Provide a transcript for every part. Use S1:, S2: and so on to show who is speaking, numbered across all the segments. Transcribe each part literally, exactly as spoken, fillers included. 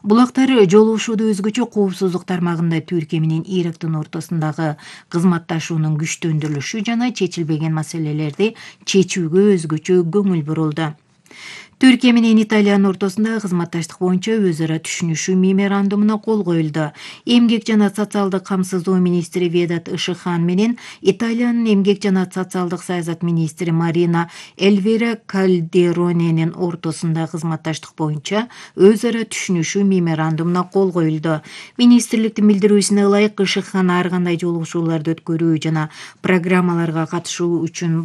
S1: Булактар жолугушууда өзгөчө коопсуздук тармагында Түркия менен Ирактын ортосундагы кызматташуунун күчтөндүрүлүшү жана чечилбеген маселелерди чечүүгө өзгөчө көңүл бурулду. Түркия менен Италиянын ортосундагы кызматташтык боюнча өз ара түшүнүшүү меморандумуна кол коюлду. Эмгек жана социалдык камсыздоо министри Ведат Ышыхан менен Италиянын эмгек жана социалдык саясат министри Марина Эльвира Кальдероненин ортосундагы кызматташтык боюнча өз ара түшүнүшүү меморандумуна кол коюлду. Министрликтин билдирүүсүнө ылайык, Ышыхан ар кандай жолугушууларды өткөрүү жана программаларга катышуу үчүн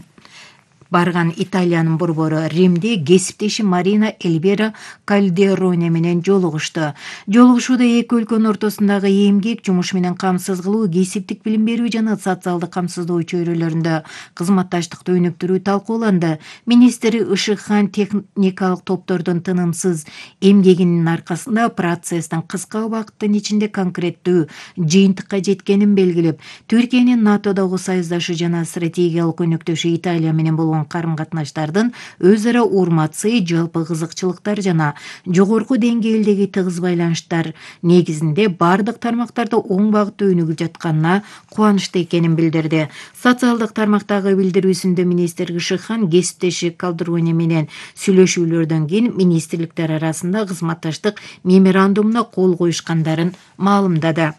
S1: барган Италиянын борбору Римде кесиптеши Марина Эльвира Кальдероне менен жолугушту. Жолугушууда эки өлкөнүн ортосундагы эмгек, жумуш менен камсыз кылуу, кесиптик билим берүү жана социалдык камсыздоо чөйрөлөрүндө кызматташтыкты өнүктүрүү талкууланды. Министр Ышыхан техникалык топтордун тынымсыз эмгегинин аркасында процесстин кыска убакыттын ичинде конкреттүү жыйынтыкка жеткенин белгилеп, Түркиянын НАТОдогу союздашы жана стратегиялык өнөктөшү Италия менен болгон карым-катнаштардын өз ара урматсы, жалпы кызыкчылыктар жана жогорку деңгээлдеги тыгыз байланыштар негизинде бардык тармактарда оң багытта өнүгүп жатканына кубанычты экенин билдирди. Социалдык тармактагы билдирүүсүндө министр Ышыхан кесиптеши Кальдероне менен сүйлөшүүлөрдөн кийин министрликтер арасында кызматташтык меморандумуна кол коюшкандарын маалымдады.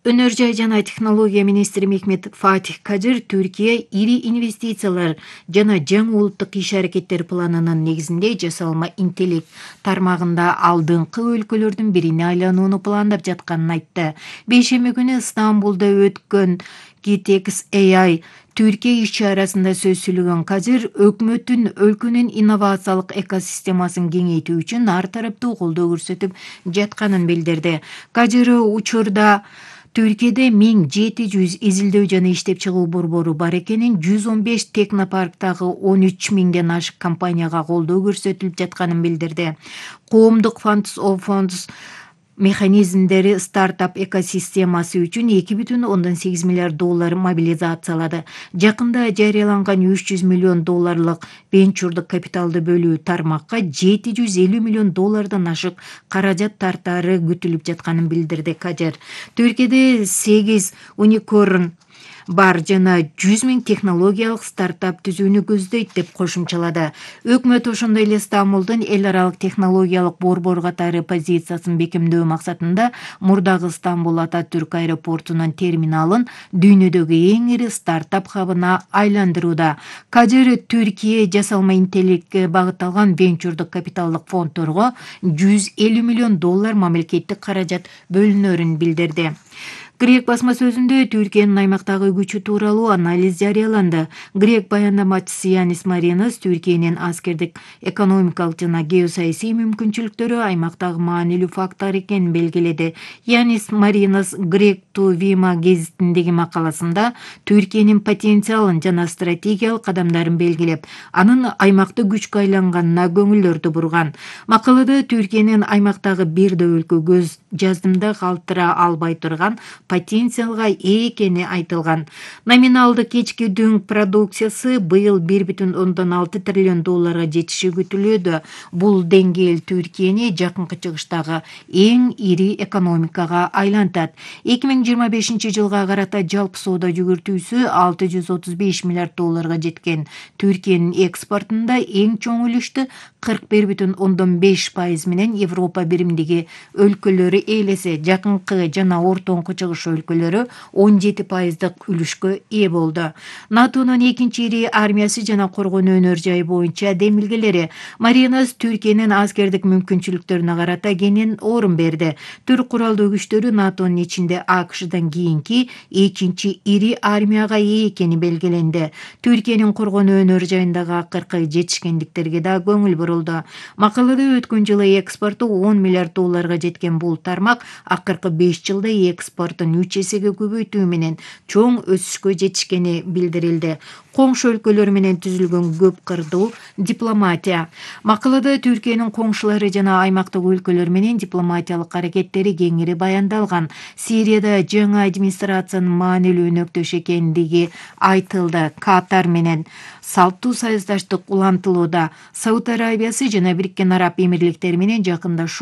S1: Өнөр жай жана технология министри Мехмет Фатих Кадыр Түркия ири инвестициялар жана жаңы улуттук иш-аракеттер планынын негизинде жасалма интеллект тармагында алдыңкы өлкөлөрдүн бирине айланууну пландап жатканын айтты. Бейшемби күнү Стамбулда өткөн Gitex A I Түркия иш-чарасында сөз сүйлөгөн Кадыр өкмөттүн өлкөнүн инновациялык экосистемасын кеңейтүү үчүн ар тараптуу колдоо көрсөтүп жатканын билдирди. Кадыр учурда Түркияда миң жети жүз изилдөө жана иштеп чыгуу борбору бар экенин, жүз он беш технопарктагы он үч миңден ашык компанияга колдоо көрсөтүлүп жатканын билдирди. Коомдук Funds of Funds механизмдери стартап экосистемасы үчүн эки бүтүн ондон сегиз миллиард доллар мобилизациялады. Жакында жарыяланган үч жүз миллион долларлык венчурдук капиталды бөлүү тармакка жети жүз элүү миллион доллардан ашык каражат тартаары күтүлүп жатканын билдирди Кадыр. Түркияда сегиз уникорн бар жана жүз миң технологиялык стартап түзүүнү көздөйт деп кошумчалады. Өкмөт ошондой эле Стамбулдун эл аралык технологиялык борбор катары позициясын бекемдөө максатында мурдагы Стамбул Ататүрк аэропортунун терминалын дүйнөдөгү эң ири стартап хабына айландырууда. Кадыр Түркия жасалма интеллектке багытталган венчурдук капиталдык фонддорго жүз элүү миллион доллар мамлекеттик каражат бөлүнөрүн билдирди. Грек басма сөзүндө Түркиянын аймактагы күчү тууралуу анализ жарыяланды. Грек баяндамачысы Янис Маринос Түркиянын аскердик, экономикалык жана геосаясий мүмкүнчүлүктөрү аймактагы маанилүү фактор экенин белгиледи. Янис Маринос Грек ту Вима гезитиндеги макаласында Түркиянын потенциалын жана стратегиялык кадамдарын белгилеп, анын аймакты күчкө айланганына көңүлдөрдү бурган. Макалада Түркиянын аймактагы бир да өлкө көз жаздымда калтыра албай турган потенциалга ээ экени айтылган. Номиналдык кечки дүң продукциясы быйыл бир бүтүн ондон алты триллион долларга жетиши күтүлүүдө. Бул деңгээл Түркияны жакынкы чыгыштагы эң ири экономикага айлантат. эки миң жыйырма бешинчи жылга карата жалпы соода жүгүртүүсү алты жүз отуз беш миллиард долларга жеткен. Түркиянын экспортунда эң чоң үлүштү кырк бир бүтүн ондон беш пайыз менен Европа биримдиги өлкөлөрү ээлесе, жакынкы жана ортоңку чыгыш өлкөлөрү он жети пайыздык үлүшкө ээ болду. НАТОнун экинчи ири армиясы жана коргонуу өнөр жайы боюнча демилгелери Маринос Түркиянын аскердик мүмкүнчүлүктөрүнө карата кенен орун берди. Түрк куралдуу күчтөрү НАТОнун ичинде АКШдан кийинки экинчи ири армияга ээ экени белгиленди. Түркиянын коргонуу өнөр жайындагы акыркы жетишкендиктерге да көңүл бурулду. Макалада өткөн жылы экспорту он миллиард долларга жеткен бул тармак акыркы беш жылда экспортун үч эсеге көбөйтүү менен чоң өсүшкө жетишкени билдирилди. Коңшу өлкөлөр менен түзүлгөн көп кырдуу дипломатия. Макалада Түркиянын коңшулары жана аймактык өлкөлөр менен дипломатиялык аракеттери кеңири баяндалган. Сирияда жаңы администрациянын маанилүү өнөктөш экендиги айтылды. Катар менен салттуу союздаштык улантылууда. Сауд Арабиясы жана Бириккен Араб Эмирликтери менен жакындашуу